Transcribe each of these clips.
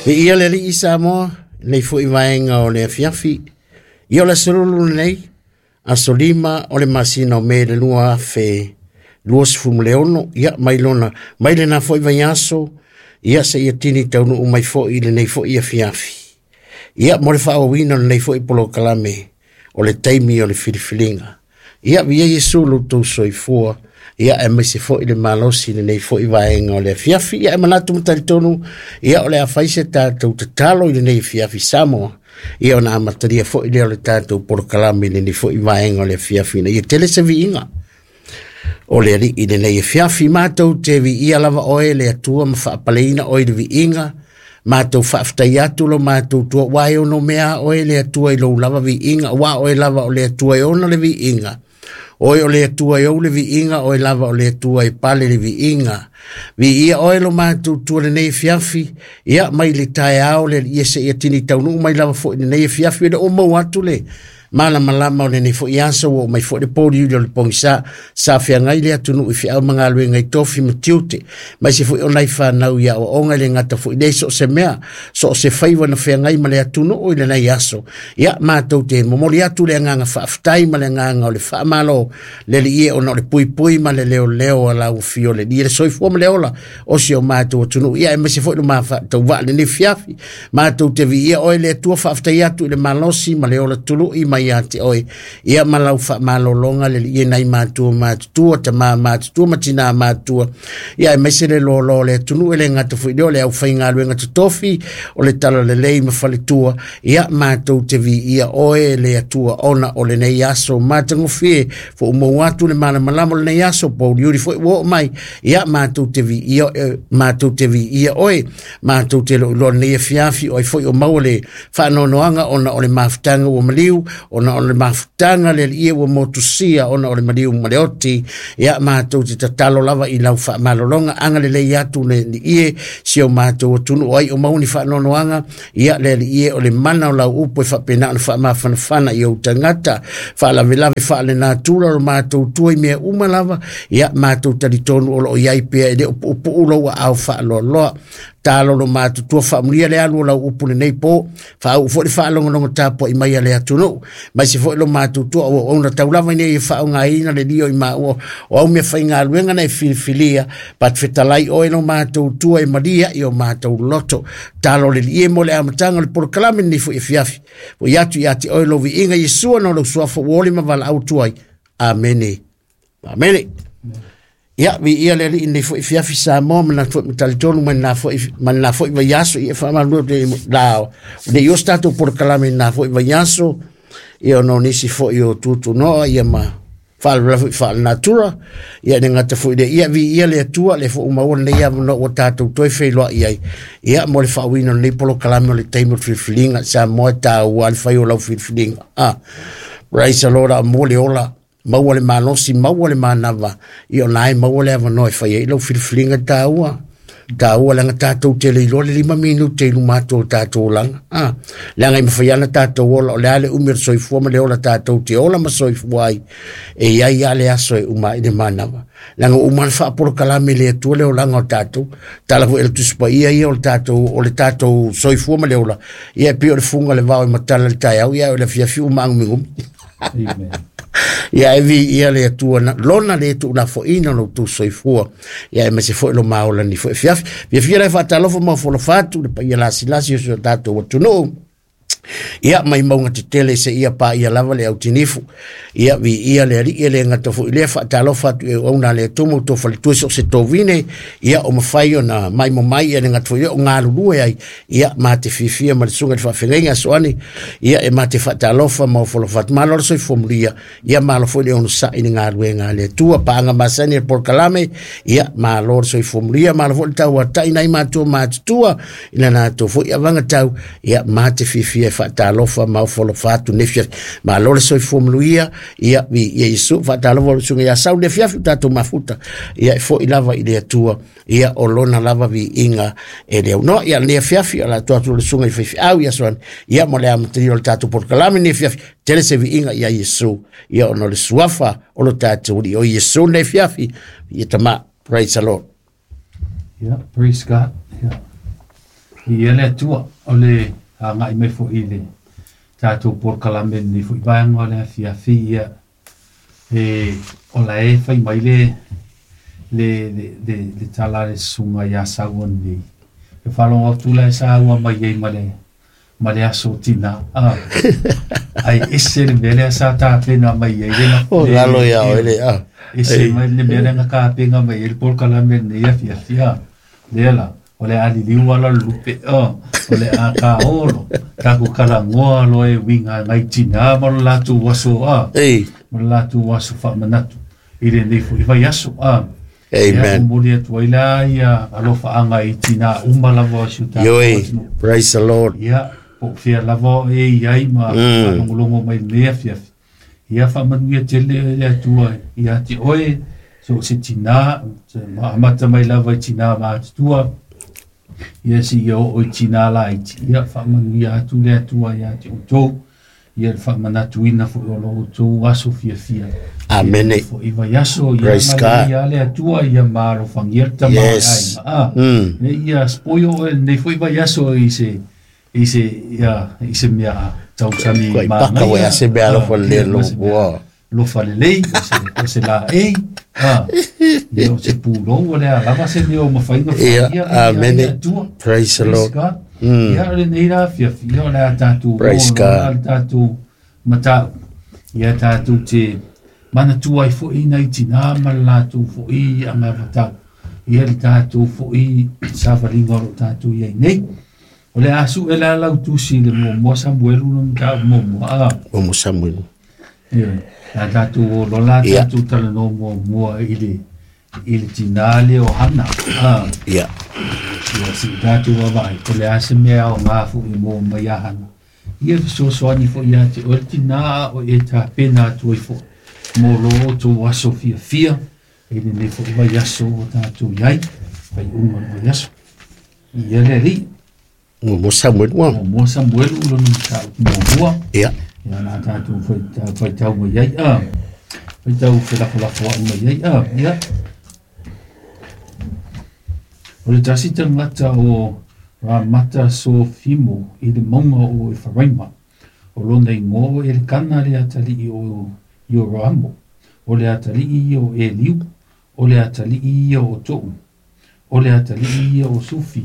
Viia le Alii Samoa, lenei foi vaega o le afiafi. Ia o le aso lulu lenei, aso 5 o le masina o Me le 2026, ia mai lona, mai lena foi vaiaso, ia seia tini taunuu mai foi i lenei foi afiafi. Ia mo le faaauauina o lenei foi polokalame o le taimi o le filifiliga. Ia viia Iesu lo outou soifua, ia aemaise foi le malosi i lenei foi vaega o le afiafi. Ia e manatu ma talitonu, ia o le a fai se tatou tatalo i lenei afiafi Samoa, ia ona amatalia foi lea o le tatou polokalame i lenei foi vaega o le afiafi ina ia tele se viiga o le Alii i lenei afiafi. Matou te viia lava oe le Atua ma faapaleina oe i le viiga, matou faafetai atu lo matou tua, ua e ono mea oe le Atua i lou lava viiga, ua oe lava o le Atua e ona le viiga. Oe o le Atua e ou le viiga, oe lava o le Atua e pale le viiga. Viia oe lo matou tua lenei afiafi, ia mai le taeao le Alii seia tini taunuu mai lava foi lenei afiafi, e le o maua atu le malamalama o lenei foi aso, ua oo mai foi le pouliuli o le pogisa, sa feagai le atunuu i feau ma galuega i tofi ma tiute, maise foi o nai fanau i aoaoga e le gata foi lea i so o se mea, so o se faiva na feagai ma le atunuu i lenei aso. Ia, matou te momoli atu le agaga faafetai ma le agaga o le faamalo le Alii e ona o le puipui ma le leoleo a lau afio le Alii e le soifua ma le ola o si o matou atunuu. Ia, aemaise foi lo mafaatauvaa lenei fiafi. Matou te viia oe le Atua, faafetai atu i le malosi ma le ola tului mai ia te oe. Ia ma lau faamalologa le Alii e nai matua matutua, tama matutua ma tina matutua. Ia aemaise le loaloa o le atunuu e le gata foi lea o le aufaigaluega totofi o le talalelei ma faletua. Ia matou te viia oe le Atua ona o lenei aso matagofie, foumou atu le malamalama o lenei aso, pouliuli foi ua oo mai. Ia matou te viia, matou te viia oe, matou te loiloa lenei afiafi, o ai foi o maua le faanoanoaga ona o le mafutaga ua maliu, ona o le mafutaga le Alii ua motusia ona o le maliu ma le oti. Ia matou te tatalo lava i lau faamalologa, agalelei atu le Alii si o matou atunuu, o ai o maua ni faanoanoaga. Ia le Alii e, o le mana o lau upu e faapena ona faamafanafana i ou tagata, faalavelave faalenatura o matou tua i mea uma lava. Ia matou talitonu o loo iai pea, e le o puupuu lou aao faaloaloa. Talo lo matutua, faamulia le alu o lau upu lenei po, faauu foi le faalogologo tapuai mai a le atunuu, mai se foi lo matutua o auauna tau lava ina ia faaaogaina le lio i maua o au mea faigaluega na e filifilia. Pat fetalai oe lo matou tua e malia i o matou loto. Talo le lie mo le amataga o le polokalame lenei foi afiafi. Foi atu ia te oe lo viiga Iesua no lou suafa ua oli ma valaau atu ai. Amene. Amene. Ia, viia le Alii lenei foi afiafi Samoa, manatu foi ma talitonu mai lena foi, mai lena foi vaiaso, ia faamalulu atu i la, nei o se tatou polokalame i lena foi vaiaso, ia ona o nisi foi o tutunoa, ia ma faalavelave foi faalenatura, ia le gata foi lea, ia viia le Atua, le foi ua maua lenei avanoa ua tatou toe feiloai ai, ia mo le faauiina o lenei polokalame o le taimi o le filifiliga. Samoa, e taua le fai o lau filifiliga. Praise the Lord, a mo le ola, maua le malosi, maua le manava, ia ona e maua le avanoa e fai ai lau filifiliga taua. Taua leaga tatou te le iloa le 5 minute i luma atu o tatou olaga. Leaga e mafai lava ona tatou ola, o le a le umi o le soifua ma le ola tatou te ola ma soifua ai, e i ai lava le aso e uma ai le manava. Leaga ua uma ona faapolokalame e le Atua le olaga o tatou. Tala foi e le Tusi Paia ia o le tatou, o le tatou soifua ma le ola, ia e pei o le fuga o le vao e matala i le taeao, ia o le afiafi ua maagumigumi. Amen. Ia e viia le Atua na, lona le tuulafoaiina o lo outou soifua, ia aemaise foi lo maola ni foi afiafi. Fiafia lai faatalofa ma ofolofa atu le paia lasilasi o si o tatou atunuu. Ia mai mauga tetele se ia paia lava le autinifu. Ia viia le Alii e le gata foi lea, faatalofa atu i auauna a le Atua ma outou faletua i so o se tovine, ia o mafai ona maimo mai, ia le gata foi lea o galulue ai, ia ma te fiafia ma le susuga i le faafeagaiga Asoani, ia e ma te faatalofa ma ofolofa atu. Malo le soifua manuia, ia malo foi le onosai i le galuega a le Atua, paaga masani le polokalame, ia malo le soifua manuia, malo foi le tauatai nai matua matutua i le latou foi avagatau, ia ma te fiafia e faatalofa ma ofolofa atu nei fiafi. Malo le soifua manuia, ia viia Iesu, faatalofa le susuga ia Sau le afiafi o tatou mafuta, ia e foi lava i le Atua, ia o lona lava viiga e le aunoa. Ia lenei afiafi o le a tuu atu le susuga i faifeau ia Asoani, ia mo le amatalia o le tatou polokalame lenei afiafi, tele se viiga ia Iesu, ia ona o le suafa o lo tatou Alii o Iesu lenei afiafi, ia tama. Praise the Lord. Yeah, praise God. Yeah. Ia le Atua o le agai mai foi i le tatou polokalame lenei foi vaega o le afiafi ia e o la e fai mai le le le le, le tala a le susuga ia Saua nei. E faalogo atu la e saua mai ai ma le aso tina. Ai ese le mea lea sa tapena mai ai le O galo ia oe le a. Ese mai le mea lea na tapena mai ai le polokalame lenei afiafi a. Lea la o le a liliu ala le lupe o le a kaolo taku kalagoa loa e uiga nai tina ma lo latou aso a. Ei. Ma lo latou aso faamanatu i lenei foi vaiaso a. Amen. Momoli atu ai la ia alofaaga i tina uma lava o si o tatou Ioi. atunuu. Praise the Lord. Ia, po o fea lava o e i ai ma faalogologo mai lenei afiafi. Ia faamanuia tele le Atua ia te oe, so o se tina, ma amata mai lava i tina matutua, ia seia oo i tina laiti. Ia faamanuia atu le Atua ia te outou, ia le faamanatuina foi o lo outou aso fiafia. Amene. Foi vaiaso, ia Praise God. agalelei le Atua, ia maalofagia le tama Yes. ai ma. Ia spoil oe lenei foi vaiaso i se i se ia i se mea tausami Koe paka manaia. oe a se mea alofa lelei Ia, ma se mea alofa. alofa lelei, o se laei, ia o se pulou o le a lava se mea o mafai ona Ia, faia, ia, amene. ia Atua. Praise the Praise Lord. God. Ia, o lenei la afiafi, ia o le a tatou Praise oo loa God. le tatou mataupu. Ia tatou te manatua ai foi nai tina ma le latou foi agavatau. Ia le tatou foi savaliga o lo tatou iai nei. O le a sue la lau tusi le muamua Samuelu le mataupu muamua. O mo Samuelu. Ia, la tatou o loa la Ia. tatou talanoa muamua i le tina lea o Hana. Ia. Ia si tatou vaavaai, o le a se mea o ngā foi mo mai ia Hana. Ia fesoasoani foi ia te oe le tina a o e tapena atu ai foi mo lo outou aso fiafia i lenei foi vaiaso o tatou iai, faaiuga o le vaiaso. Ia le alii. Mo Samuelu. Muamua Samuelu lona mataupu muamua. Ia. Ia la tatou faitau mai ai, faitau felafolafoai mai ai, ia. O le tasi tagata o Ramata Sofimo i le mauga o Efaraima. O lona igoa o Elikana le atalii o Ioraamo. O le atalii ia o Eliu. O le atalii ia o Tou. O le atalii ia o Sufi.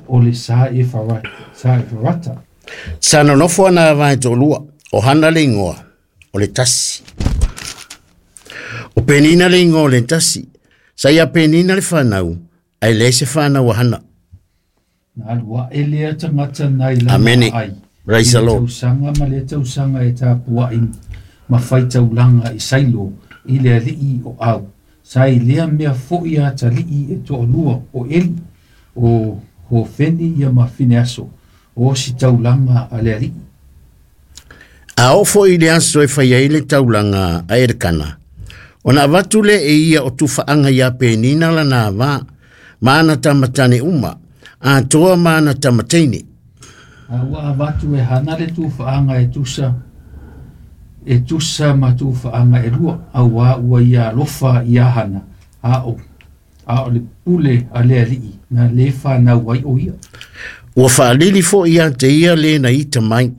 O le sa Efarata. Sa nonofo ana vae toalua, o Hana le igoa, o le tasi. O Penina le igoa o le tasi. Sa ia Penina le whanau, ai leai se whanau a Hana. Na alu ae lea tagata nai lana Amene. ai. Praise I the le Lord. tausaga ma le tausaga e tapuai ma faitaulaga i Sailo i le alii o Au. Sa i lea mea foi atalii e toalua o Eli, o Hofeni ia ma Fineaso, o si taulaga a le alii. A oo foi i le aso e fai ai le taulaga a Elikana, ona avatu lea e ia o tufaaga ia Penina lana avā, ma ana tamatane uma, atoa ma ana tamateine. A ua avatu e Hana le tufaaga e tusa ma tufaaga e lua, auā ua ia alofa ia Hana, a o le pule a le alii, na le whanau ai o ia. Ua faalili foi ia te ia le na ita mai.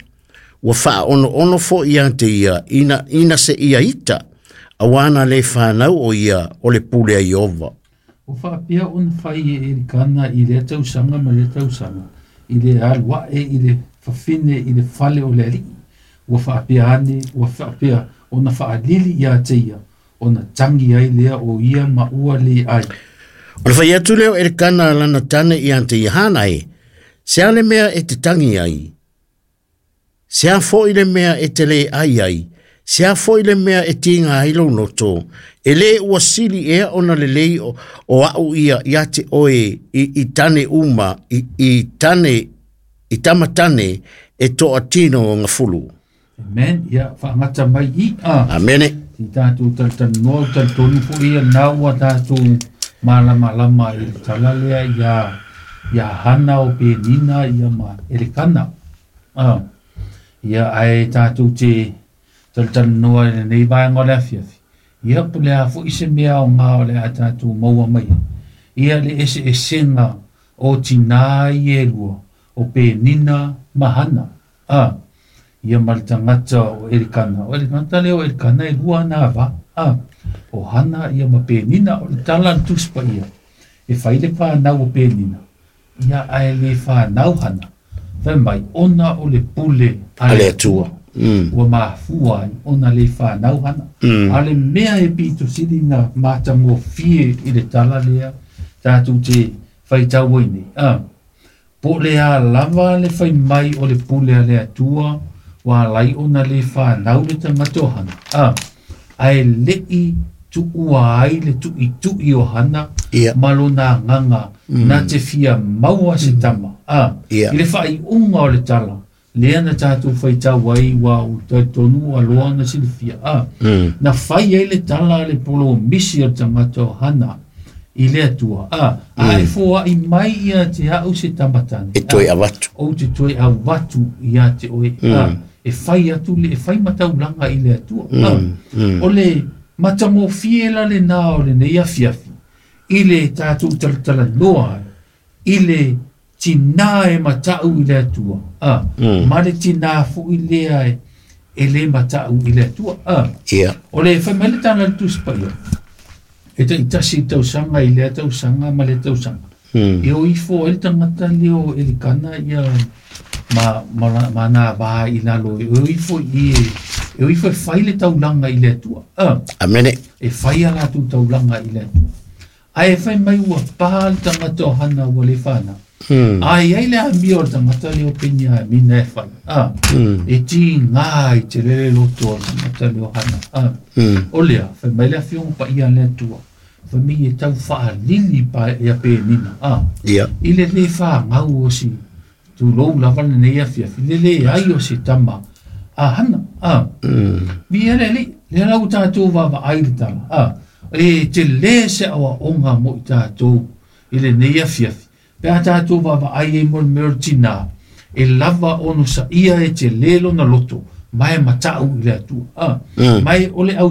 Ua faaono'ono foi ia te ia ina se ia ita, auā na le whanau o ia o le pule a Iova. O whaapea ona whai e Elikana i lea tausaga ma lea tausaga, i le aluae i le fafine i le fale o le alii. Ua whaapea ane, ua whaapea ona whaalili ia te ia, ona tangi ai lea o ia ma ua le ai. O le whai atu leo Elikana lana tane ia te ia Hana e, se a le mea e te tangi ai, se a foi le mea e te le ai ai, se a foi le mea e tinga ai lou noto, e le ua sili ea ona lelei o au ia ia te oe i tane uma, i tane, i tamatane e toa tino o ngafulu. Amen. Ia, whaangata mai i a. Amene. Ti tātou talanoa, talitonu foi ia nā ua tātou malamalama i le tala lea ia Hana o Penina ia ma Elikana. Ia ai tātou te talanoa i lenei vaega o le afiafi. Ia po le a foi se mea o ngā o le a tātou maua mai. Ia le ese esenga O tinā i e lua o Penina ma Hana. A, ia ma le tagata o Elikana. O le tagata lea o Elikana e lua ana ava. A, o Hana ia ma Penina. O le tala a le Tusi Paia, e fai le fanau o Penina, ia ae le fanau Hana. Fai mai, ona o le pule a le Atua. Ua mafua ai ona le fanau Hana. A o le mea e pito sili na matagofie i le tala lea tatou te faitau ai nei. A, po o le a lava le fai mai o le pule a le Atua ua ala ai ona le fanau le tagata o Hana. A, ae le'i tuua ai le tu'itu'i o Hana ma lona agaga na te fia maua se tama. A, i le faaiuga o le tala lea na tatou faitau ai ua ou talitonu ua loa ona silafia. A, na fai ai le tala a le polomisi o le tagata o Hana i le Atua. A, a e foa'i mai ia te a'u se tama tane, e toe avatu. Ou te toe avatu ia te oe. A, e fai atu le, e fai mataulaga i le Atua. A, o le matagofie la lenā o lenei afiafi i le tatou talatalanoa ai i le tinā e mata'u i le Atua, a, ma le tinā fo'i lea e lē mata'u i le Atua. A, o le fai mai le tala a le Tusi Paia, e ta'itasi i tausaga i lea tausaga ma lea tausaga. E o ifo ai le tagata lea o Elikana ia ma, ma, ma nā vā i lalo, e o ifo i e o ifo e fai le taulaga i le Atua. A, Amene. E fai a latou taulaga i le Atua. Ae e fai mai ua pa le tagata o Hana ua le fanau. A i ai le amio o le tagata lea o Peniamina e fai. A, e tigā i te lele loto o le tagata lea o Hana. A, o lea, fai mai le Afioga Paia a le Atua, fai mai e tau faalili pa ia Penina. A, i le lē fagau o si tulou lava lenei afiafi, le leai o se tama a Hana. A, viia le Alii, lea la ua tatou vaavaai i le tala. A, e telē se aoaoga mo i tatou i lenei afiafi, pe a tatou vaavaai ai mo le mea o le tinā, e lava ono saia e telē lona loto, ma e mata'u i le Atua. A, ma e o le au